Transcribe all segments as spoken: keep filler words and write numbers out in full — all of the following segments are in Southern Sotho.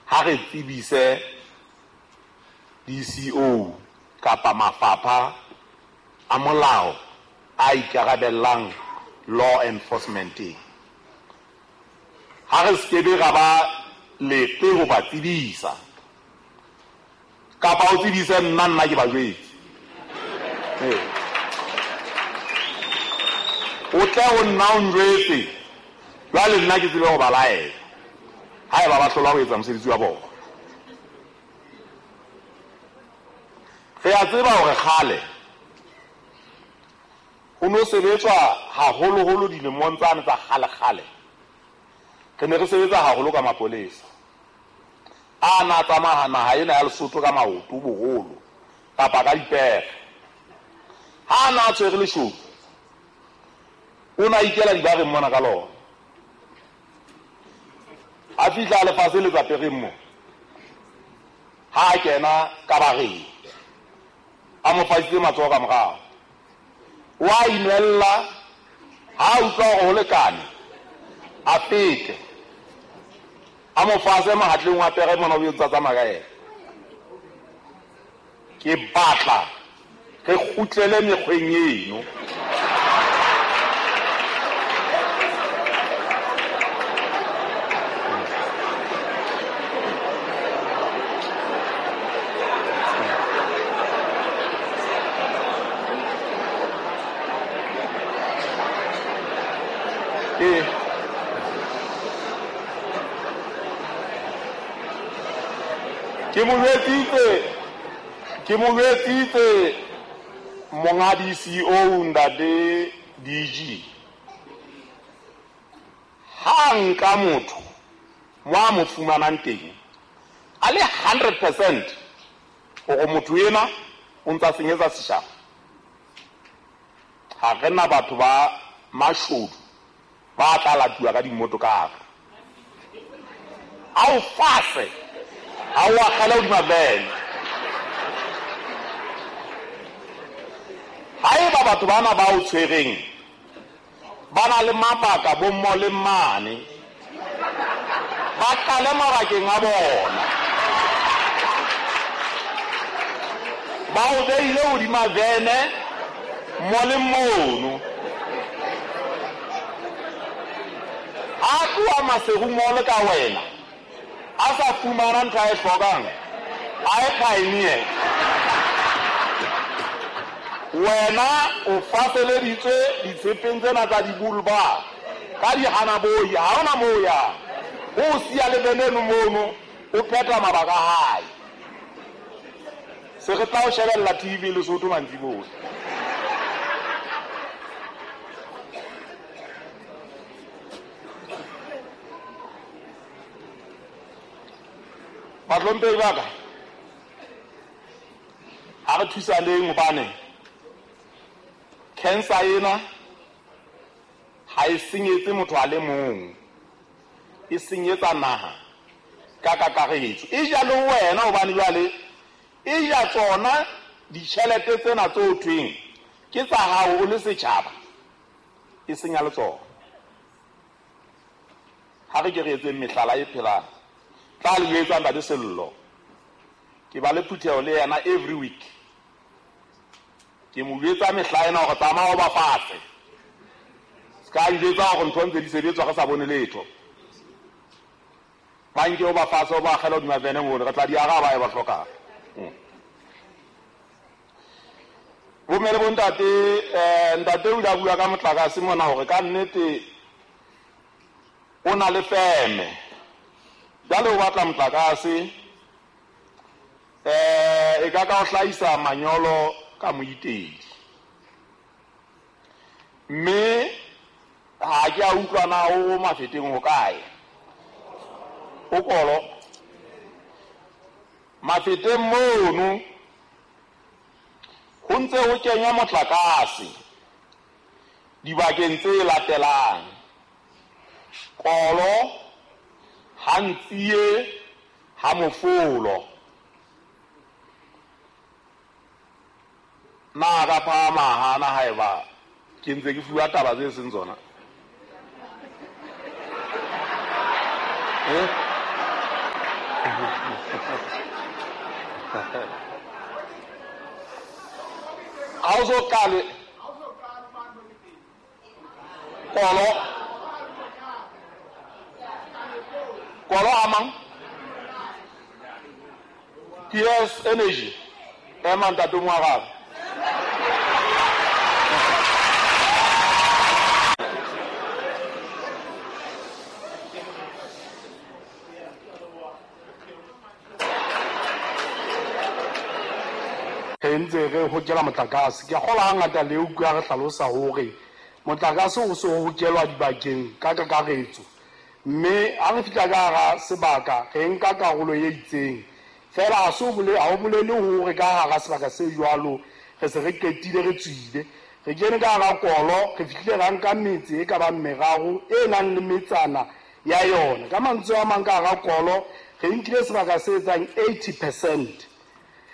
Ha re tsebise D C O kapa mafapha a molao a ikarabellang law enforcement. Ha re skebe ra ba leqe ho ba tsebisa. Kapa o tsebise nna nna ke ba jwetse. Eh. O tle o nna o njwetse. Jwale nna ke tsebe ho ba laela. Haeba ba hlola ho etsa mosebetsi wa bona. Re a tseba hore kgale ho no sebetswa haholoholo dilemong tsane tsa kgale-kgale. Re ne re sebetsa haholo ka mapolesa. A na tsamaya naha ena ya Lesotho ka maoto boholo kapa ka dipere. Ha na tshwere leshodu, o na ikela dibareng mona ka lona. A fihla lefatshe le tsa pereng mo. Ha a kena ka bareng, a mo fasitse matsoho ka morao. Wa inwella, ha utlwa hore ho lekane, a fete. A mo fase mahatleng wa pere mona o etsa tsamaya ka yena. Ke batla re kgutlele mekgweng eno. Ke mo jwetsitse, ke mo jwetsitse monga D C O ntate D G. Ha nka motho mo a mo fumanang teng a le hundred percent hore motho ena o ntsa senyetsa setjhaba. Ha re na batho ba mashodu ba tla latuwa ka dimotokara. A o fase, a o akgele hodima vene. Haeba batho bana ba o tshwereng ba na le mabaka bo mmo le mmane, ba qale mabakeng a bona. Ba o beile hodima vene mo le mono. A tloha Maseru Mall ka wena, a sa fumana ntho a e hlokang, a e pioneer. Wena o faseleditswe ditshepeng tsena tsa dibulba ka dihanaboi, ha hona moo yang. O siya le veneno mono, o phetha mabaka a hae. Se re tla o shebella T V Lesotho mantsiboya. Bahlomphehi ba ka, ha re thusaneng hobane cancer ena ha e senyetse motho a le mong, e senyetsa naha ka kakaretso. E ja le wena hobane jwale e ja tsona ditjhelete tsena tse o thweng ke tsa hao o le setjhaba, e senya le tsona. Ha re ke re etseng mehlala e phelang. Tla le jwetsa ntate Sello, ke ba le phutheho le yena every week. Ke mo jwetsa mehla ena hore tsamaya o ba fatshe. Se ka njwetsa hore ntho ntse di sebetswa re sa bone letho. Ba nke o ba fatshe o ba akgela hodima vene mono, re tla di araba e ba hlokang. Bomme le bontate, eh, ntate o ile a bua ka motlakase mona hore ka nnete o na le feme. Jwale o batla motlakase, eh, e ka ka o hlahisa manyolo ka moitedi. Mme ha ke a utlwa na o Mafeteng ho kae. O kolo Mafeteng mono ho ntse ho kenywa motlakase dibakeng tse latelang: Kolo, ha Ntsie, ha Mofolo. Na ka phahama hana haeba ke ntse ke fuwa taba tse seng tsona? Eh? Ha o so qale kolo kolo amang T S Energy ema ntate Moarabe. Re ntse re hokela motlakase. Ke a kgolwa hangata le utlwa re hlalosa hore motlakase o so hokelwa dibakeng ka kakaretso, mme ha re fihla ka hara sebaka re nka karolo e itseng fela. Ha se ha o bolele hore ka hara sebaka se jwalo re se re qetile, re tswile, re kene ka hara kolo, re fihlile ra nka metse e ka bang meraro e nang le metsana ya yona. Ka mantswe a mang, ka hara kolo re nkile sebaka se etsang eighty percent,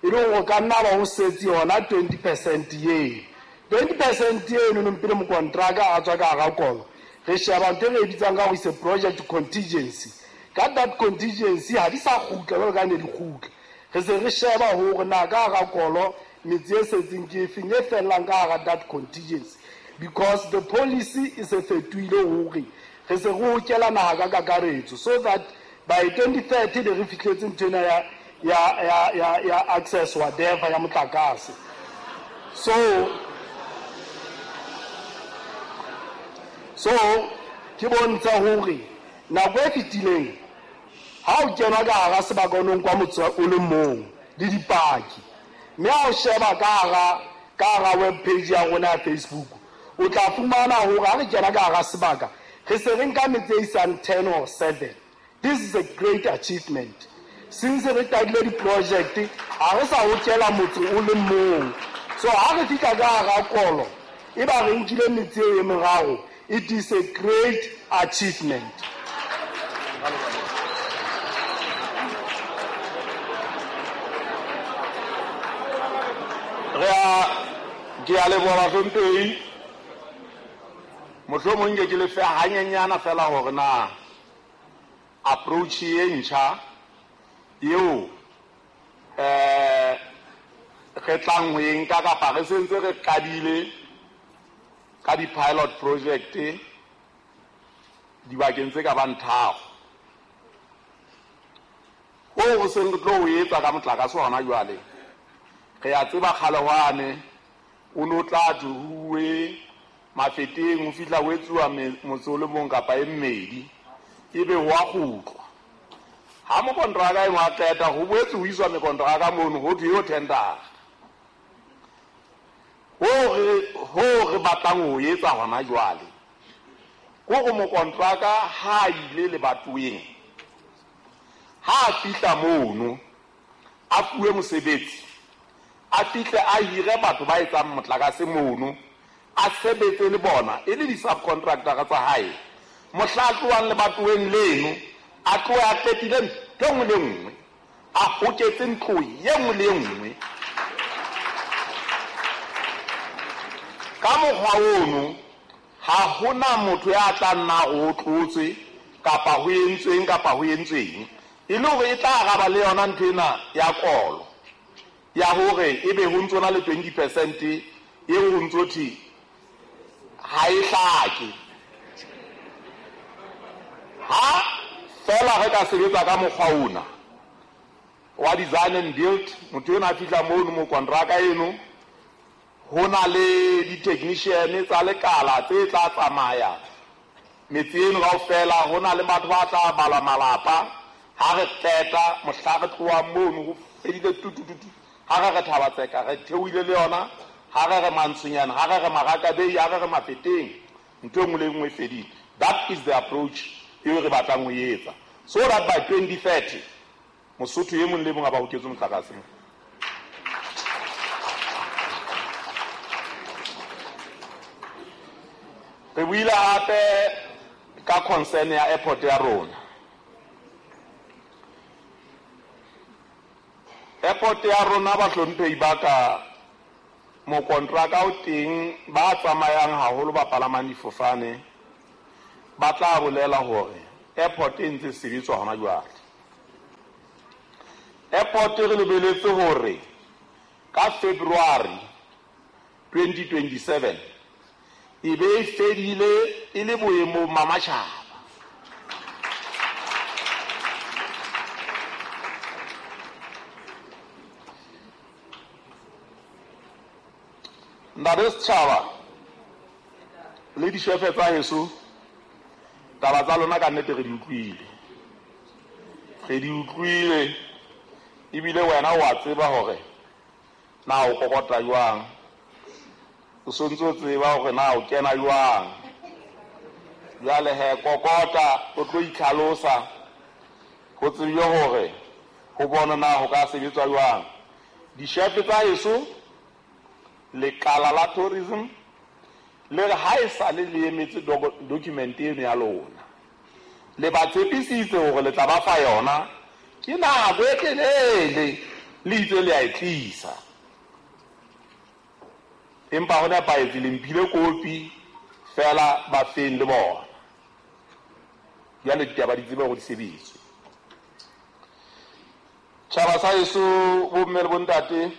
e le hore ka nna ba ho setse yona twenty percent eo. twenty percent eno nong pele mokontraka a tswa ka hara kolo, re sheba ntho e re e bitsang ka hore is a project contingency. Ka that contingency ha di sa kgutla jwalo ka ne di kgutla, re se re sheba hore na ka hara kolo metse e setseng ke efeng e fellang ka hara that contingency, because the policy e se fetohile hore re se re hokela naha ka kakaretso, so that by twenty thirty be re fihletse ntho ena ya ya ya ya ya access whatever ya motlakase. So so ke bontsha hore nako e fetileng ha o kenwa ka hara sebaka o no nkwa motse o le mong le dipaki, mme ha o sheba ka hara ka hara web page ya rona ya Facebook, o tla fumana hore ha re kena ka hara sebaka re se re nka metse e isang ten or seven. This is a great achievement. Since re qadile di-project ha re sa hokela motse o le mong, so ha re fihla ka hara kolo e ba re nkile metse e meraro. It is a great achievement. Re a ke a leboha bahlomphehi. Mohlomong nke ke le fe hanyenyana fela hore na approach e ntjha eo eh re tlang ho e nka kapa re sentse re qadile ka di-pilot project dibakeng tse ka bang tharo. Hoo re seng re tlo o etsa ka motlakase hona jwale, re a tseba kgale hwane o no tla thuwe Mafeteng ho fihla ho etsuwa motse o le mong kapa e mmedi, ebe ho a kgutlwa. Ha mokontraka eno a qeta ho boetse ho iswa mekontraka mono ho thwe eo tendera. Ho re ho re batlang ho etsa hona jwale ke hore mokontraka ha a ile lebatoweng, ha a fihla mono a fuwe mosebetsi, a fihle a hire batho ba etsang motlakase mono, a sebetse le bona e le di-subcontractor tsa hae. Mohla a tlohang lebatoweng leno a tlohe a qetile ntho e nngwe le e nngwe, a hoketse ntlo e nngwe le e nngwe. Ka mokgwa ono ha hona motho ya tla nna o tlotswe kapa ho entsweng kapa ho entsweng, e le hore e tla araba le yona ntho ena ya kolo ya hore ebe ho ntso na le twenty percent eo ho ntso thwe ha e hlake. Ha fela re ka sebetsa ka mokgwa ona wa design and build, motho ena a fihla mono mokontraka eno ho na le di-technician tsa lekala tse tla tsamaya metse eno kaofela, ho na le batho ba tla bala malapa. Ha re qeta mohla re tlohang mono ho fedile tutututu, ha re re Thaba-Tseka re theohile le yona, ha re re Mantsonyana, ha re re Marakabei, ha re re Mafeteng, ntho e nngwe le e nngwe e fedile. That is the approach eo re batlang ho e etsa, so that by twenty thirty Mosotho e mong le mong a ba hoketswe motlakase. Re buile hape ka concern ya airport ya rona. Airport ya rona bahlomphehi ba ka, mokontraka o teng ba tsamayang haholo ba palamang difofane ba tla bolela hore airport e ntse sebetswa hona jwale. Airport re lebeletse hore ka February twenty twenty-seven e be e fedile e le boemong ba matjhaba. Ntate setjhaba le dishefe tsa heso, taba tsa lona ka nnete re di utlwile, re di utlwile ebile wena o a tseba hore na o kokota jwang, o sontse o tseba hore na o kena jwang. Jwale he kokota o tlo itlhalosa ho tsebile hore ho bona na ho ka sebetswa jwang. Dishefe tsa heso, lekala la tourism le re ha e sale le emetse document eno ya lona, le ba tshepisitse hore le tla ba fa yona, ke nako e telele le itse le a e tlisa, empa ho nepahetse le mphile kopi fela ba feng le bona. Jwale ditaba di tsebe hore di sebetswe. Tjhaba sa heso, bomme le bontate,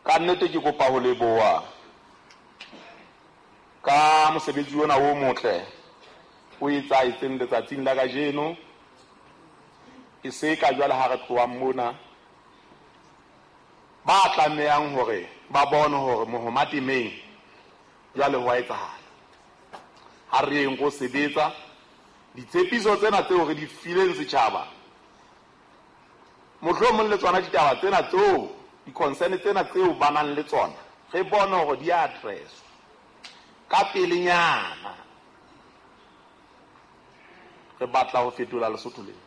ka nnete ke kopa ho leboha ka mosebetsi ona o motle o etsahetseng letsatsing la kajeno. E se ka jwale ha re tlohang mona, ba tlamehang hore ba bone hore mohoma temeng jwale ho a etsahala. Ha re yeng go sebetsa ditshepiso tsena tseo re di fileng setjhaba, mohlomong le tsona ditaba tsena tseo, di-concern tsena tseo ba nang le tsona, re bone hore di a address ka pelenyana. Re batla ho fetola Lesotho lena,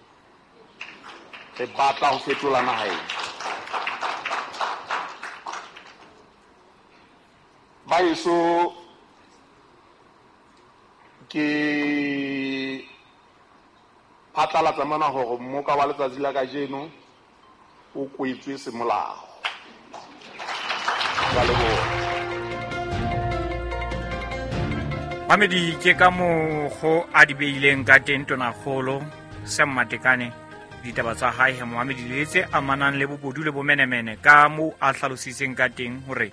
re batla ho fetola naha ena. Ba heso, ke phatlalatsa mona hore mmoka wa letsatsi la kajeno o kwetswe semolao. Ka leboha. Mamedi, ke ka mokgo a di beileng ka teng Tonakgolo Sam Matekane ditaba tsa hae he Mohamedi le tse amanang le bobodu le bomenemene, ka moo a hlalositseng ka teng hore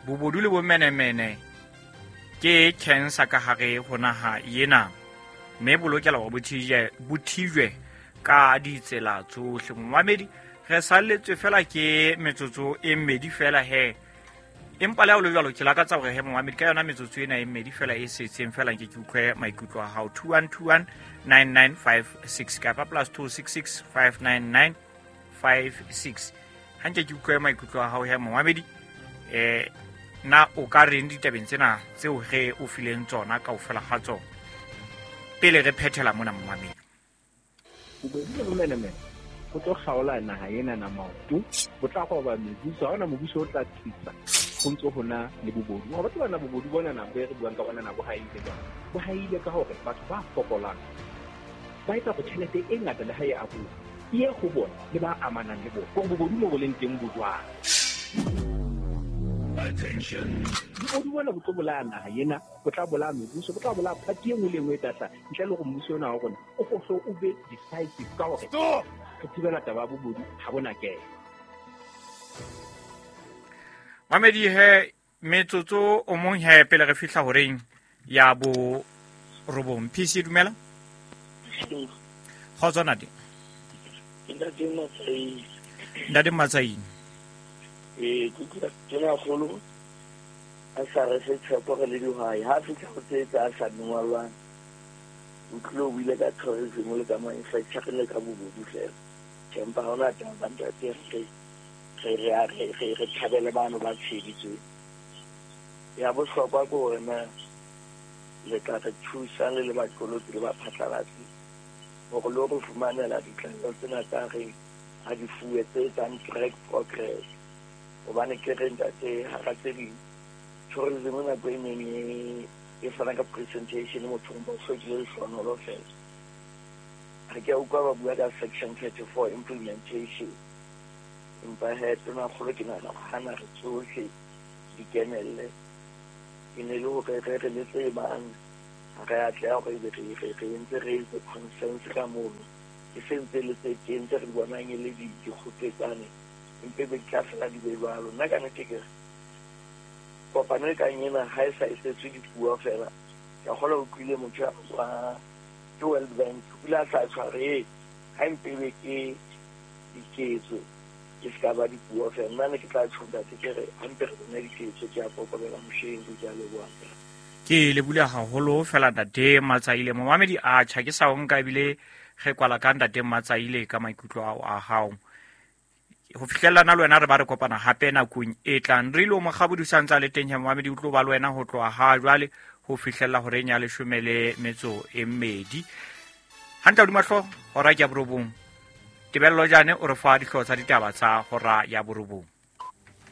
bobodu le bomenemene ke cancer ka hare ho naha ena, mme bo lokela hore bo thijwe bo thijwe ka ditsela tsohle. Mohamedi, re salletswe fela ke metsotso e mmedi fela he, empa le ha o le jwalo ke lakatsa hore he Mohamedi ka yona metsotso ena e mmedi fela e setseng fela nke ke utlwe maikutlo a hao. Two one two one nine nine five six kapa plus two six six five nine nine five six. Ha nke ke utlwe maikutlo a hao he Mohamedi, eh na o ka reng ditabeng tsena tseo re o fileng tsona kaofela ha tsona pele re phethela mona Mohamedi? Bobodu le bomenemene go tlo kgaola naha ena na maoto, bo tla goba mebuso, ha hona mobuso o tla tsitsa go ntse ho na le bobodu. Wa batho bana bobodu bona na bo re buang ka bona na bo haile jwang, bo haile ka hore batho ba fokolang ba etsa go tjhelete e ngata le ha e abuwa e ye go bona le ba amanang le bona, gore bobodu mo bo leng teng bo jwang. Bobodu bona bo tlo bolaya naha ena, bo tla bolaya mebuso, bo tla bolaya party e nngwe le e nngwe e tla hlaha ntle le hore mmuso ona wa rona o fohle o be decisive ka hore re thibela taba ya bobodu ha bona kena. Mamedi he metsotso o mong he pele re fihla horeng ya bo robong. P C dumela. Kgotso ntate. Ntate Matsaini. Ntate Matsaini. Eh, ke utlwa Tonakgolo a sa re fe tshepo re le dihwai, ha fihla ho tse tsa sa dungwalwang, o tlilo o buile ka tourism le ka manufacturing le ka bobodu fela. Empa ha hona taba ntate, re re re re re thabele bano ba tsheditswe. Ya bohlokwa ke hore na le tla re thusa le le baqolotsi le baphatlalatsi hore le re fumanela ditlaleho tsena tsa re ha di fuwe tse etsang track progress. Hobane ke re ntate hara tse ding tourism nako e neng e fana ka presentation mothong ba hlokile lehlohonolo fela. Ha ke a utlwa ba bua ka section thirty-four implementation, empa he Tonakgolo ke nahana hore hana re tsohle di kenelle, e ne le hore re re le tse bang ha re atleha hore ebe re re re entse re etse consensus ka mono Ke sentse le tse teng tse re di bonang e le dikgopetsane empe be di tla fela di be jwalo. Nna ka nnete ke re kopano e kang ena ha e sa esetswe dipuo fela, ke a kgolwa o utlwile motho wa ke World Bank o ile a sa tshware ha empe be ke diketso ke se ka ba dipuo fela. Nna ne ke tla tjho ntate ke re ha mpe re bone diketso. Ke a kokobela mosheng, ke a leboha. Ke lebule haholo fela ntate Matsaile. Momamedi a tjha ke sa o nka ebile re kwala ka ntate Matsaile ka maikutlo ao a hao. Ho fihlellana le wena re ba re kopana hape nakong e tlang. Re ile Mokgabodi sa ntsa le teng he momamedi o tlo ba le wena ho tloha ha jwale ho fihlella horeng ya leshome le metso e mmedi. Hantle hodima hlooho hora ke ya borobong. Tebello Jane o re fa dihlooho tsa ditaba tsa hora ya borobong.